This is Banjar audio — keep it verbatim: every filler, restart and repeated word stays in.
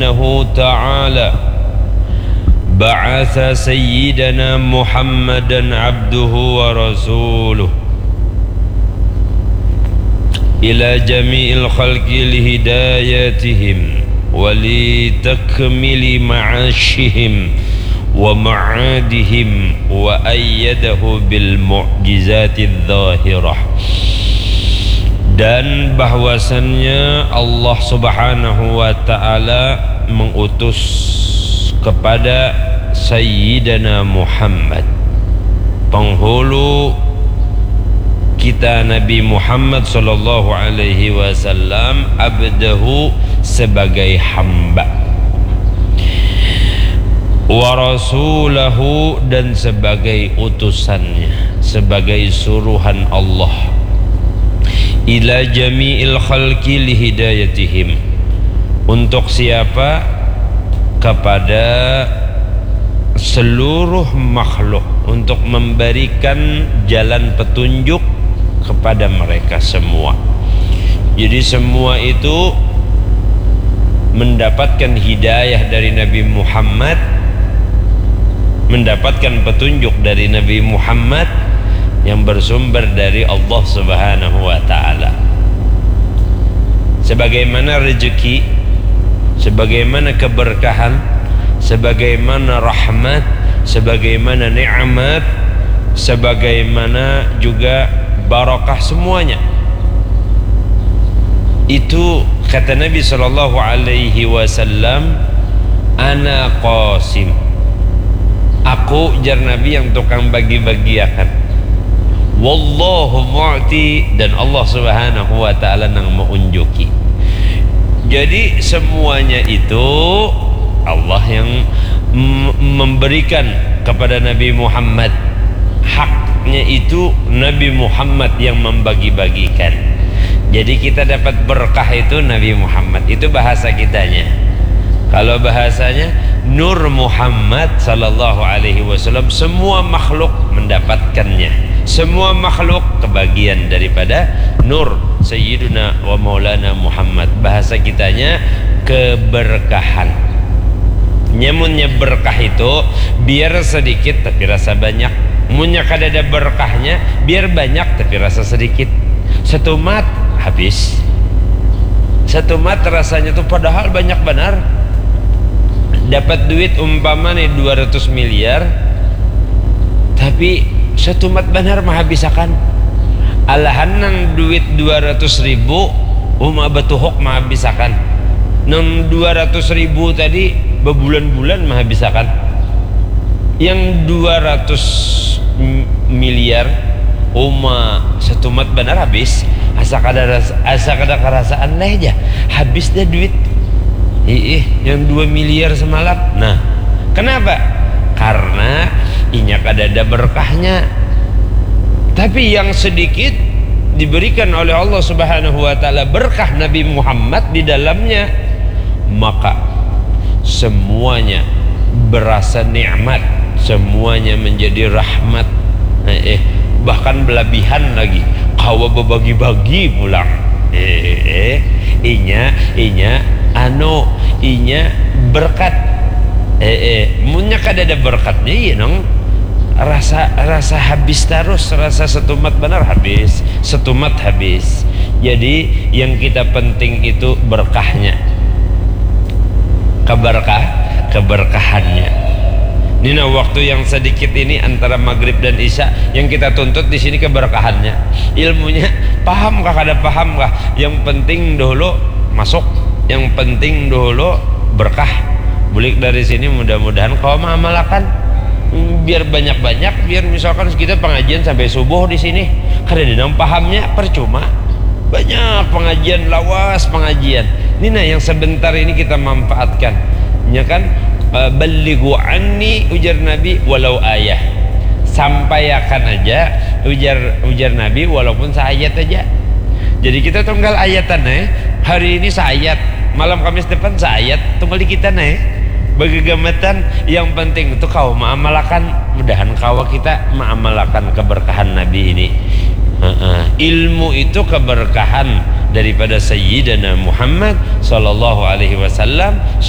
سبحانه وتعالى بعث سيدنا محمدا عبده ورسوله إلى جميع الخلق لهدايتهم ولتكميل معاشهم ومعادهم وأيده بالمعجزات الظاهرة. Dan bahwasannya Allah Subhanahu wa Ta'ala mengutus kepada Sayyidina Muhammad, penghulu kita, Nabi Muhammad sallallahu alaihi wasallam, abdahu, sebagai hamba, wa rasulahu, dan sebagai utusannya, sebagai suruhan Allah, ila jami'il khalqi lihidayatihim. Untuk siapa? Kepada seluruh makhluk, untuk memberikan jalan petunjuk kepada mereka semua. Jadi semua itu mendapatkan hidayah dari Nabi Muhammad, mendapatkan petunjuk dari Nabi Muhammad yang bersumber dari Allah Subhanahu wa Ta'ala. Sebagaimana rezeki, sebagaimana keberkahan, sebagaimana rahmat, sebagaimana nikmat, sebagaimana juga barakah, semuanya itu, kata Nabi sallallahu alaihi wasallam, "Ana qasim." Aku, jar Nabi, yang tukang bagi-bagiakan. Wallahu mu'ti, dan Allah Subhanahu wa Ta'ala nang maunjuki. Jadi semuanya itu Allah yang m- memberikan kepada Nabi Muhammad. Haknya itu Nabi Muhammad yang membagi-bagikan. Jadi kita dapat berkah itu Nabi Muhammad. Itu bahasa kitanya. Kalau bahasanya, Nur Muhammad sallallahu alaihi wasallam, semua makhluk mendapatkannya. Semua makhluk kebagian daripada nur Sayyiduna wa Maulana Muhammad. Bahasa kitanya, keberkahan. Nyamunnya berkah itu, biar sedikit tapi rasa banyak. Munnya kadada berkahnya, biar banyak tapi rasa sedikit. Setumat, habis. Setumat rasanya tuh, padahal banyak banar. Dapat duit umpama nih dua ratus miliar, tapi setumat banar mahabisakan. Alahan nang duit dua ratus ribu, uma batuhuk mahabisakan. Nang dua ratus ribu tadi, babulan-bulan mahabisakan. Yang dua ratus miliar, uma setumat banar habis. Asa kada ras- asa kada karasaan leh ja, habis dah duit. Iih, yang dua miliar semalam. Nah, kenapa? Karena inya kada ada berkahnya. Tapi yang sedikit diberikan oleh Allah Subhanahu wa Ta'ala berkah Nabi Muhammad di dalamnya, maka semuanya berasa nikmat, semuanya menjadi rahmat. Eh, eh, bahkan belabihan lagi, kawa bebagi-bagi pulang. Eh, eh, eh, inya, inya, anu, inya berkat. Eh, eh, munnya kada ada berkatnya, iya nang rasa rasa habis terus, rasa setumat benar habis, setumat habis. Jadi yang kita penting itu berkahnya, keberkah keberkahannya. Ini nah, waktu yang sedikit ini antara maghrib dan isya, yang kita tuntut di sini keberkahannya. Ilmunya paham kah, kada paham kah, yang penting dahulu masuk, yang penting dahulu berkah. Bulik dari sini, mudah-mudahan kawa mengamalkan. Biar banyak-banyak, biar misalkan kita pengajian sampai subuh di sini, kada ada nang pahamnya, percuma. Banyak pengajian, lawas pengajian. Ini nah, yang sebentar ini kita manfaatkan. Ya kan? Eh, "Ballighu anni," ujar Nabi, "walau ayah." Sampaiakan aja, ujar ujar Nabi, walaupun seayat aja. Jadi kita tunggal ayatan, eh. Hari ini seayat, malam Kamis depan seayat, tunggal di kita, eh. Begegamatan, yang penting itu kawa mengamalkan. Mudahan kawa kita mengamalkan keberkahan Nabi ini. Heeh. Ilmu itu keberkahan daripada Sayyidina Muhammad sallallahu alaihi wasallam.